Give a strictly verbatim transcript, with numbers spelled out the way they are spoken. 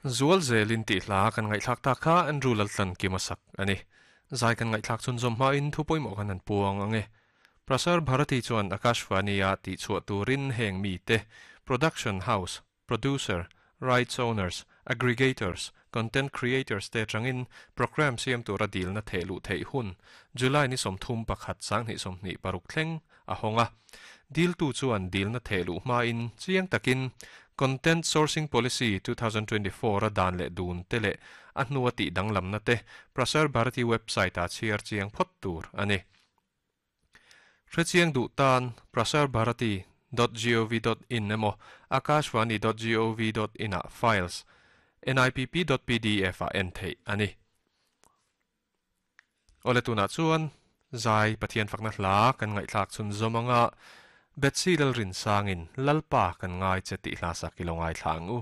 Zual zelin tih hla kan ngaihthlak tak kha Andrew Laltlankima sak a ni. Zai kan ngaihthlak chhunzawm hmain thu pawimawh kan han puang ang e. Prasar Bharati chuan Akashvani-a tihchhuah turin heng mite, production house, producer, rights owners, aggregators, content creators te atangin programme siam tura dilna theh luh theih hun July ni sawmthum pakhat sanghnih sawmhnih paruk thleng a hawng a. Diltu chuan dilna theh luh hmain chiang takin Content Sourcing Policy two thousand twenty four a dan leh dun te leh a hnua tih danglamna te Prasar Bharati website ah chhiar chiang phawt tur a ni. Hrechiang duh tan Prasar Bharati dot gov dot in emaw Akashvani dot gov dot in ah files nipp dot pdf ah en theih a ni. Awle tunah chuan zai Pathian fakna hla kan ngaihthlak chhunzawm anga Betsy Lalrinsangin Lalpa kan ngai che tih hla sak i lo ngaithla ang u.